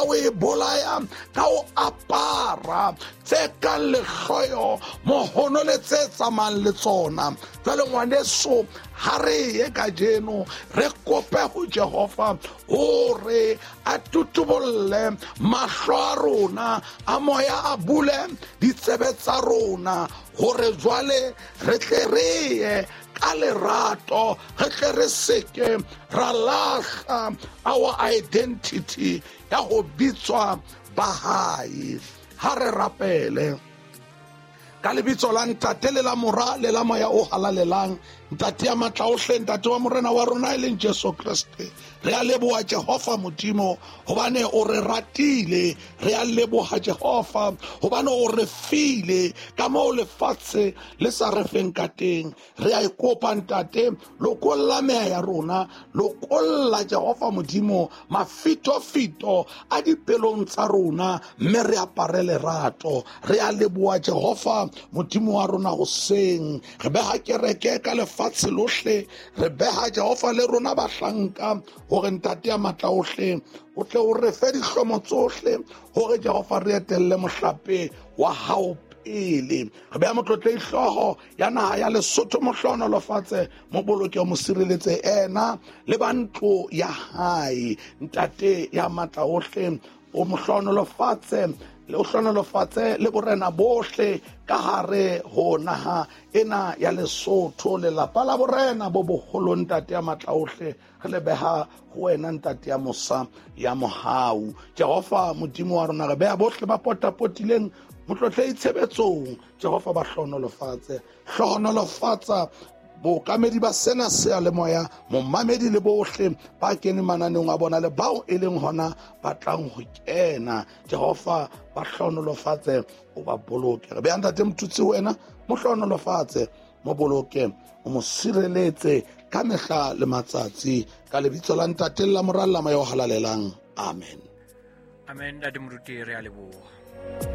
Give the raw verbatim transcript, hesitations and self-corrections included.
o e bolaya ka ho apara tse kang lehloyo, mohono le tse tsamayang le tsona. Jwale ngwaneso, ha re ye kajeno re kope ho Jehova hore a tutubolle mahlo a rona a moya, a bule ditsebe tsa rona hore jwale re tle re ye ka lerato, re tle re seke ra lahla our identity ya ho bitswa ba hae. Ha re rapele ka lebitso la Ntate le la Mora le la Moya o Halalelang. Ntate ya matla ohle, Ntate wa Morena wa rona e leng Jesu Kreste, re a leboha Jehova Modimo hobane o re ratile. Re a leboha Jehova hobane o re file ka moo lefatshe le sa re feng ka teng. Re a ikopa Ntate, lokolla meya ya rona, lokolla Jehova Modimo mafitofito a dipelong tsa rona, mme re apare lerato. Re a leboha Jehova Modimo wa rona hoseng, re beha kereke ka lefatshe lohle, re beha Jehova le rona bahlanka hore Ntate ya matla ohle o tle o re fe dihlomo tsohle hore Jehova re etelle mohlape wa hao pele. Re beha motlotlehi hlooho ya naha ya Lesotho, mo hlohonolofatse, mo boloke, mo sireletse ena le ba ntlo ya hae. Ntate ya matla ohle o mo hlohonolofatse, le o hlohonolofatse le borena bohle ka hare ho naha ena ya Lesotho, lelapa la borena bo boholo. Ntate ya matla ohle, re le beha ho wena Ntate ya mosa ya mohau. Jehova Modimo wa rona, re beha bohle ba potapotileng motlotlehi tshebetsong. Jehova ba hlohonolofatse, hlohonolofatsa bookamedi ba sena seyalemoya, momamedi le bohle ba keneng mananeong a bona le bao e leng hona ba tlang ho kena. Jehova ba hlohonolofatse, o ba boloke. Re beha Ntate Motutsi ho wena, mo hlohonolofatse, mo boloke, o mo sireletse ka mehla le matsatsi, ka lebitso la Ntate le la Mora le la Moya o Halalelang. Amen. Amen. Ntate Moruti, re a leboha.